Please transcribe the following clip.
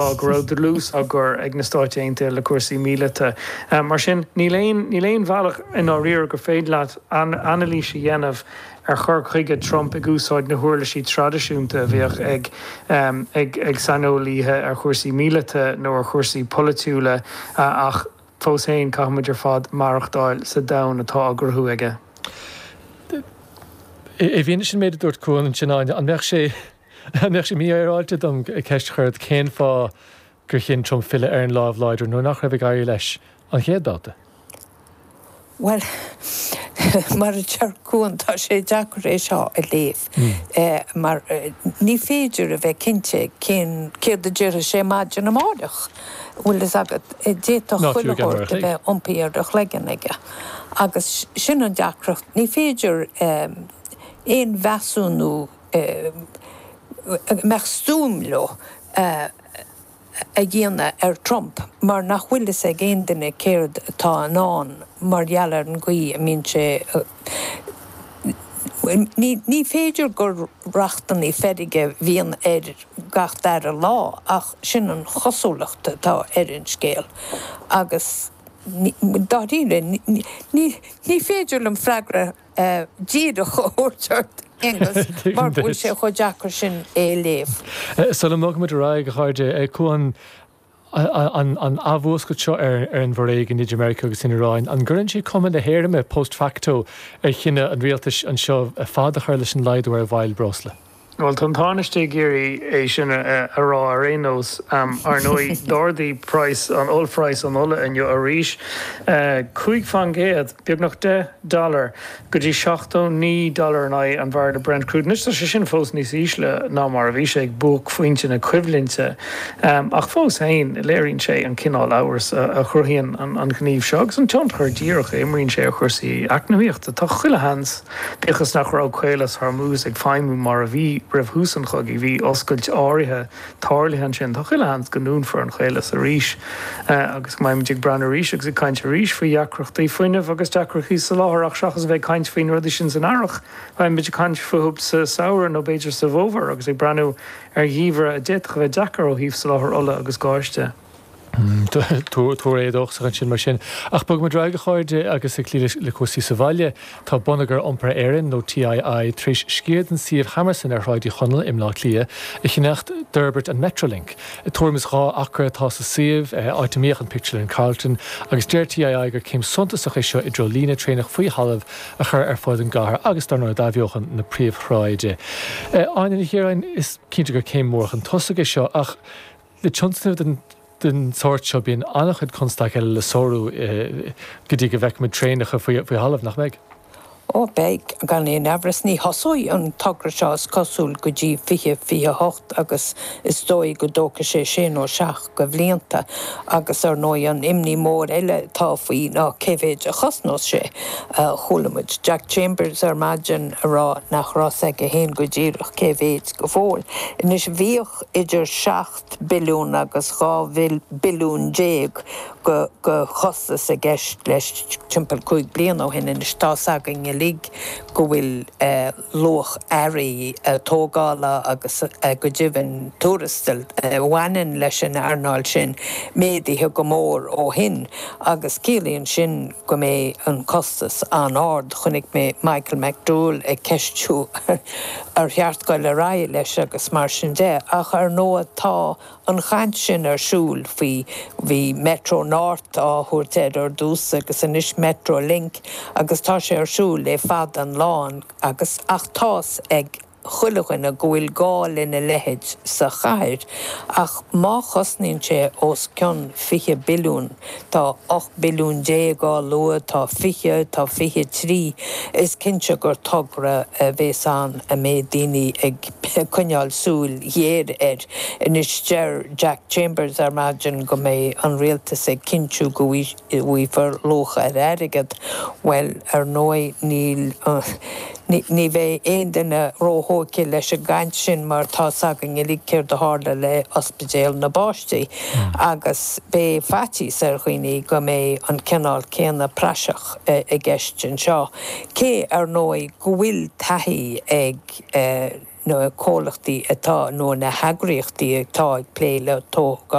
Go raibh dlús á gcur ag na Stáit Aontaithe le cúrsaí míleata. Mar sin, níl aon, níl aon bhealach i ndáiríre gur féidir leat anailís a dhéanamh ar chur chuige Trump ag úsáid na huirlisí traidisiúnta a bhíodh ag, ag, ag saineolaíthe ar chúrsaí míleata nó ar chúrsaí polaitiúla ach fós féin caithfimid ar fad maireachtáil sa domhan atá á gcruthú aige. I bhfianaise an méid a dúirt Cuan ansin, Áine, an mbeadh sé. An mbeadh sé mífhéaráilte dom ceist a chur ort cén fáth gur chinn Trump filleadh ar an lámh láidir nuair nach raibh ag éirí leis an chéad babhta? Bhuel, mar a deir Cuan, tá sé deacair é seo a léamh mar ní féidir a bheith cinnte cén, céard a déarfaidh sé maidin amáireach. Bhfuil fhios agat, d'fhéadfadh chuile shórt a bheith iompaithe ar a chloigeann aige. Agus sin an deacracht, ní féidir aon mheasúnú a mbeadh stuaim leo a dhéanamh ar Trump mar nach bhfuil fhios ag aon duine céard atá i ndán mar gheall ar an gcaoi a mbíonn sé Ní féidir gur rachtanna feirge a bhíonn air gach dara lá ach sin an chosúlacht atá ar an scéal agus dáiríre ní féidir liom freagra díreach a thabhairt ort, Aonghus, mar go bhfuil sé chomh deacair sin é a léamh. Sula mbogfaimid ar aghaidh, a chairde, Cuan, an athmhúscailt seo ar an bhforéigean idir Meiriceá agus an Iaráin, an gcuireann sé cuma na héirimhe, post facto, ar chinneadh an rialtais anseo fad a chur leis an laghdú ar mhoill breosla? Bhuel, tá an Tánaiste ag iarraidh é sin a rá ar aon nós. Ar ndóigh, d'ardaigh praghas an ollphraghas an ola inniu arís, 5%, beagnach 10 dollar, go dtí 79 dollar in aghaidh an bhairille Brent crude. Anois, tá sé sin fós níos ísle ná mar a bhí sé ag buaicphointe na coimhlinte, ach fós féin, léiríonn sé an cineál amhrais a chruthaíonn an gníomh seo agus an tionchar díreach a imríonn sé ar chúrsaí eacnamaíochta. Tá chuile sheans. Bíodh is nach raibh Caolas Hormuz ag feidhmiú mar a bhí roimh thús an chogaidh, bhí oscailt áirithe tarlaithe ansin. Tá chuile sheans go ndúnfar an caolas arís agus go mbeimid ag breathnú arís agus ag caint arís faoi dheacrachtaí fuinnimh agus deacrachtaí soláthair ach seachas a bheith ag caint faoi na rudaí sin san earrach, beimid ag caint fúthu sa samhradh nó b'fhéidir sa bhfómhar agus ag breathnú ar gheimhreadh a d'fhéadfadh a bheith deacair ó thaobh soláthar ola agus gáis de. Tuar éadóchasach ansin mar sin. Ach bogfaimid ar aghaidh, a chairde, agus ag cloí le cúrsaí sa bhaile, tá Bonneagar Iompair Éireann, nó TII, tar éis sciar den suíomh Hammerson ar Shráid Uí Chonaill i mBleá Cliath a cheannacht d'fhorbairt an Metrolink. Tuairim is 2 acra atá sa suíomh, áit a mbíodh an pictiúrlann Carlton, agus deir TII gur céim suntasach é seo i dtreo líne traenach faoi thalamh a chur ar fud an gcathair agus, dar ndóigh, d'athbheochan na príomhshráide. Áine Ní Chiaráin, is cinnte gur céim mhór chun tosaigh é seo, ach Le tionscnamh den sórt seo bíonn an-chuid constaic eile le sárú go dtí go bhfeicfimid traenacha faoi thalamh, nach mbeidh? Ó, beidh, gan aon amhras. Ní thosóidh an togra seo, is cosúil, go dtí 2028 agus is dóigh go dtógfaidh sé sé nó seacht de bhlianta. Agus, ar ndóigh, an imní mór eile atá faoi ná cé mhéid a chosnós sé. Chuala muid Jack Chambers ar maidin ag rá nach raibh 's aige féin go díreach cé mhéid go fóill. Anois, bhíodh. idir 7 billiún agus 12 billiún de chostas i gceist leis timpeall 5 bliana ó shin. Anois tá's againn uilig go bhfuil luach earraí tógála agus go deimhin tuarastail a bhaineann leis an earnáil sin méadaithe go mór ó shin agus ciallaíonn sin go mbeidh an costas an-ard. Chonaic mé Michael McDowell ag ceistiú ar cheart goil ar aghaidh leis agus mar sin de. Ach ar ndóigh tá an chaint sin ar siúl faoi, bhí Metro North á thabhairt air ar dtús agus anois Metro Link agus tá sé ar siúl le fada an lá agus ach tá's ag chuile dhuine go bhfuil gá lena leithéid sa chathair ach má chosnaíonn sé os cionn 20 billiún, tá 18 billiún á lua, tá 20, tá 23, is cinnte gur togra a bhéas ann a mbeidh daoine ag coinneáil súil ghéar air. Anois deir Jack Chambers ar maidin go mbeidh an rialtas ag cinntiú go bhfaighfear luach ar airgead. Bhuel, ar ndóigh níl, ní bheidh aon duine róthógtha leis an gcaint sin mar tá's againn uilig céard a tharla le Ospidéal na bPáistí agus beidh faitíos ar dhaoine go mbeidh an cineál céanna praiseach i gceist anseo. Cé, ar ndóigh, go bhfuil taithí ag. na comhlachtaí atá nó na heagraíochtaí atá ag plé le tógáil.